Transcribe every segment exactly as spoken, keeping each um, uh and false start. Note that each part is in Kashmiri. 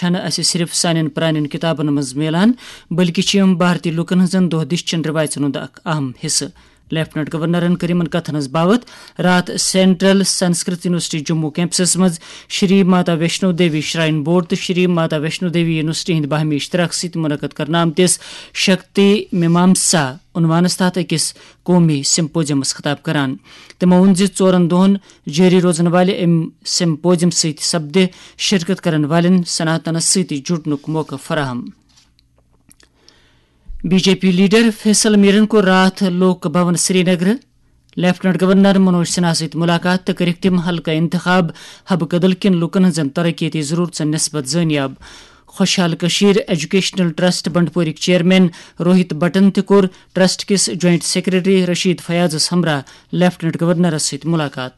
چھنہٕ اسہِ صرف سانٮ۪ن پرانٮ۪ن کتابن منٛز میلان، بلکہِ چھِ یِم بھارتی لوٗکن ہٕنٛزن دۄہ دِش چٮ۪ن رٮ۪وایژن ہُنٛد اکھ اہم حصہٕ۔ لیفٹیننٹ گورنرن کٔر یِمن کتھن ہٕنٛز باوتھ راتھ central Sanskrit university Jammu campuses منٛز شری ماتا ویشنو دیوی شراین بورڈ تہٕ شری ماتا ویشنو دیوی یونیورسٹی ہٕنٛدِ باہمی اشتراک سۭتۍ منعقد کرنہٕ آمتِس شکتی میمامسا عنوانس تحت أکِس قومی سمپوزیمس خطاب کران۔ تِمو ووٚن زِ ژورن دۄہن جٲری روزن والہِ امہِ سمپوزیم سۭتۍ سپدِ شرکت کرن والٮ۪ن سناتنس سۭتۍ جُڑنُک موقعہٕ فراہم۔ B J P leader Faisal میرن کوٚر راتھ لوک بھون سرینگر لیفٹیننٹ گورنر منوج سنہا سۭتۍ ملاقات تہٕ کٔرٕکھ تِم حلقہٕ انتخاب حب کدل کٮ۪ن لوٗکن ہٕنٛزن ترقیتی ضروٗرژن نسبت زٲنیاب۔ خوشحال کشیر ایجوکیشنل ٹرسٹ بنڈپورٕکۍ چیئرمین روہت بٹن تہِ کوٚر ٹرسٹ کِس جوائنٹ سیکرٹری رشید فیاضس ہمراہ لیفٹیننٹ گورنرس سۭتۍ ملاقات۔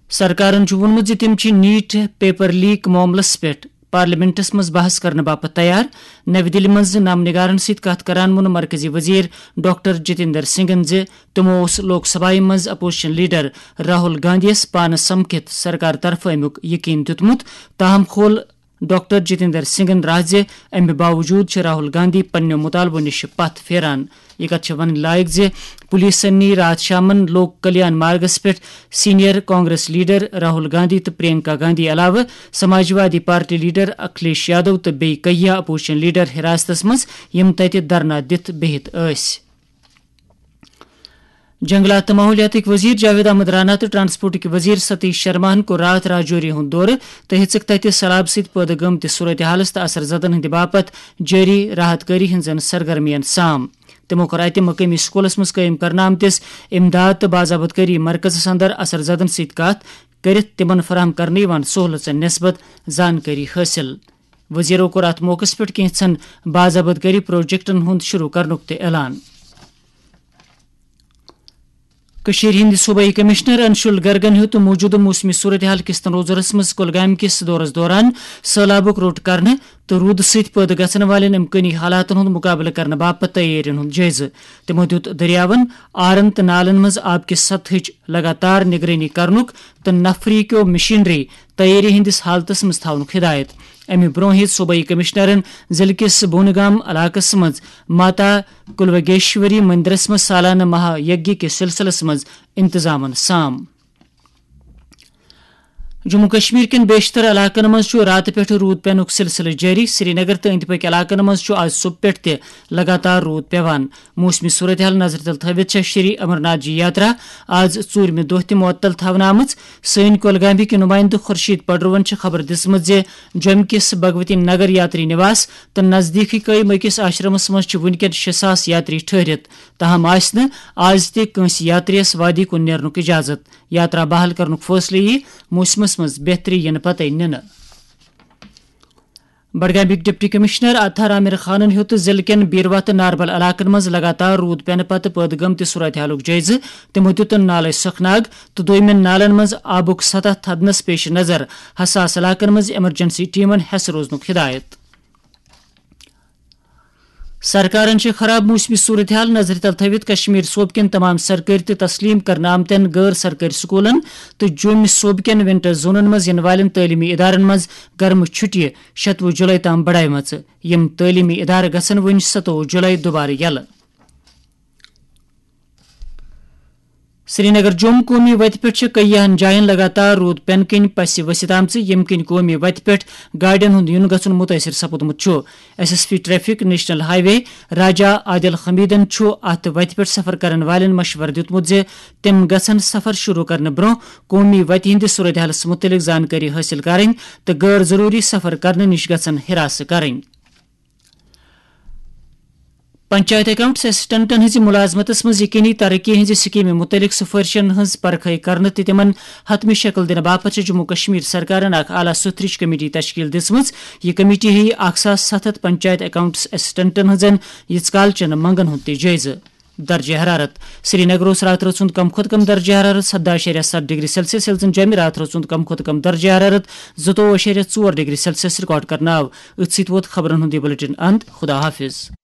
سرکارن چھُ ووٚنمُت زِ تِم چھِ نیٹ پیپر لیک معاملس پٮ۪ٹھ پارلیمنٹس منٛز بحث کرنہٕ باپتھ تیار۔ نَوِ دِلہِ منٛز نامہ نگارن سۭتۍ کتھ کران ووٚن مرکزی وزیر ڈاکٹر جتیندر سنگھن زِ تِمو اوس لوک سبھایہ منٛز اپوزیشن لیڈر راہل گاندھی یس پانہٕ سمکھِتھ سرکار طرفہٕ امیُک یقین دیُتمُت، تاہم کھول ڈاکٹر جتیندر سنگھن راز زِ امہِ باوجود چھِ راہل گاندھی پننیو مطالبو نِش پتھ پھیران۔ یہِ کتھ چھِ ونٕنۍ لایق زِ پولیسن نی راتھ شامن لوک کلیان مارگس پٮ۪ٹھ سینئر کانگریس لیڈر راہل گاندھی تہٕ پرینکا گاندھی علاوٕ سماجوادی پارٹی لیڈر اکھلیش یادو تہٕ بیٚیہِ کیہہ اپوزیشن لیڈر حراستس منٛز، یِم تتہِ دھرنا دِتھ بِہِتھ ٲسۍ۔ جنگلات تہٕ ماحولیاتٕکۍ وزیر جاوید احمد رانا تہٕ ٹرانسپورٹٕکۍ وزیر ستیش شرماہن کوٚر راتھ راجوری ہُنٛد دورٕ تہٕ ہیٚژٕکھ تتہِ سہلاب سۭتۍ پٲدٕ گٔمتِس صورتحالس تہٕ اثر زدن ہٕنٛدِ باپتھ جٲری راحت کٲری ہٕنٛزن سرگرمین سام۔ تِمو کوٚر اتہِ مقٲمی سکوٗلس منٛز قٲیِم کرنہٕ آمتِس امداد تہٕ باضابط کٲری مرکزس اندر اثر زدن سۭتۍ کتھ کٔرِتھ تِمن فراہم کرنہٕ یِوان سہولژن نسبت زانکٲری حٲصِل۔ وزیرو کوٚر اتھ موقعس پٮ۪ٹھ کینٛژن باضابط کٲری پروجیکٹن ہُنٛد شروع کرنُک تہِ اعلان۔ کٔشیٖرِ ہٕنٛدِ صوبٲئی کمشنر انشول گرگن ہیوٚت موجودٕ موسمی صورتحال کِس تنوظرس منٛز کۄلگامہِ کِس دورس دوران سٔہلابُک روٚٹ کرنہٕ تہٕ روٗدٕ سۭتۍ پٲدٕ گژھن والٮ۪ن امکٲنی حالاتن ہُنٛد مُقابلہٕ کرنہٕ باپتھ تیٲرین ہُنٛد جٲیزٕ۔ تِمو دیُت دٔریاون، آرن تہٕ نالن منٛز آب کِس سطحٕچ لگاتار نگرٲنی کرنُک تہٕ نفری کیو مشینری تیٲری ہٕنٛدِس حالتس منٛز تھاونُک ہدایت۔ امہِ برونٛہہ ہیٚتۍ صوبٲئی کمشنرن ضلعہٕ کِس بونہٕ گام علاقس منٛز ماتا کلوگیشوری مندرس منٛز سالانہٕ مہا یگیہ کِس سلسلس منٛز انتظامن سام۔ جموں کشمیر کٮ۪ن بیشتر علاقن منٛز چھُ راتہٕ پٮ۪ٹھٕ روٗد پینُک سلسلہٕ جٲری۔ سرینگر تہٕ أنٛدۍ پٔکۍ علاقن منٛز چھُ آز صبح پٮ۪ٹھ تہِ لگاتار روٗد پٮ۪وان۔ موسمی صورتحال نظرِ تل تھٲوِتھ چھےٚ شری امرناتھ جی یاترا آز ژوٗرمہِ دۄہ تہِ معطل تھاونہٕ آمٕژ۔ سٲنۍ کۄلگامہِ کہِ نُمٲیندٕ خورشید پڈروَن چھِ خبر دِژمٕژ زِ جوٚمہِ کِس بھگوتی نگر یاتری نواس تہٕ نزدیٖکھٕے قٲیِم أکِس آشرمس منٛز چھِ وُنکٮ۪ن شےٚ ساس یاتری ٹھٔہرِتھ، تاہم آسہِ نہٕ آز تہِ کٲنٛسہِ یاترِیَس وادی کُن نیرنُک اجازت۔ یاترا بحال کرنُک فٲصلہٕ یِیہِ موسمس منٛز بہتری یِنہٕ پتَے نِنہٕ۔ بڈگامٕکۍ ڈپٹی کمشنر اطہر عامر خانن ہیوٚت ضلعہٕ کٮ۪ن بیروا تہٕ ناربل علاقن منٛز لگاتار روٗد پینہٕ پتہٕ پٲدٕ گٔمتہِ صورتحالُک جٲیزٕ۔ تِمو دیُت نالے سکھناگ تہٕ دویمٮ۪ن نالن منٛز آبُک سطح تھدنس پیش نظر حساس علاقن منٛز ایمرجنسی ٹیمن ہٮ۪س روزنُک ہدایت۔ سرکارن چھِ خراب موسمی صورتحال نظرِ تل تھٲوِتھ کشمیر صوبہٕ کٮ۪ن تمام سرکٲرۍ تہٕ تسلیم کرنہٕ آمتٮ۪ن غٲر سرکٲرۍ سکوٗلن تہٕ جوٚمہِ صوبہٕ کٮ۪ن ونٹر زونن منٛز یِنہٕ والٮ۪ن تعلیمی ادارن منٛز گرمہٕ چھُٹیہِ شتوُہ جُلے تام بڑایمژٕ۔ یِم تعلیمی ادارٕ گژھن وۄنۍ ستووُہ جُلے دوبارٕ یلہٕ۔ سرینگر جوٚم قومی وتہِ پٮ۪ٹھ چھِ کیاہن جاین لگاتار روٗد پینہٕ کِنۍ پسہِ ؤسِتھ آمژٕ، ییٚمہِ کِنۍ قومی وتہِ پٮ۪ٹھ گاڑٮ۪ن ہُنٛد یُن گژھُن مُتٲثِر سپُدمُت چھُ۔ S S P traffic national highway Raja Adil حمیدن چھُ اتھ وتہِ پٮ۪ٹھ سفر کرن والٮ۪ن مشورٕ دیُتمُت زِ تِم گژھن سفر شروع کرنہٕ برونٛہہ قومی وتہِ ہٕنٛدِس صورتحالس مُتعلق زانکٲری حٲصِل کرٕنۍ تہٕ غٲر ضروٗری سفر کرنہٕ نِش گژھن ہراس کرٕنۍ۔ پنچایت اکاؤنٹس اسسٹنٹن ہٕنٛزِ مُلازمتس منٛز یقینی ترقی ہٕنٛزِ سکیمہِ مُتعلق سفٲرشن ہٕنٛز پرکھے کرنہٕ تہٕ تِمن حتمی شکل دِنہٕ باپتھ چھِ جموں کشمیر سرکارن اکھ اعلیٰ سطحٕچ کمیٹی تشکیل دِژمٕژ۔ یہِ کمیٹی ہیٚیہِ اکھ ساس ستھ ہتھ پنچایت اکاؤنٹس اسسٹنٹن ہٕنٛزن ییٖژ کال چٮ۪ن منگن ہُنٛد تہِ جٲیزٕ۔ درجہ حرارت۔ سرینگر اوس راتہٕ رٲژ ہُنٛد کم کھۄتہٕ کم درجہ حرارت سداہ اعشاریہ ستھ ڈگری سیلسیس، ییٚلہِ زن جوٚمہِ راتہٕ رٲژ ہُنٛد کم کھۄتہٕ کم درجہ حرارت زٕتووُہ اعشاریہ ژور ڈگری سیلسیس ریکارڈ کرنہٕ آو۔ أتھۍ سۭتۍ ووت خبرن ہُنٛد یہِ بلیٹن اند۔ خدا حافظ۔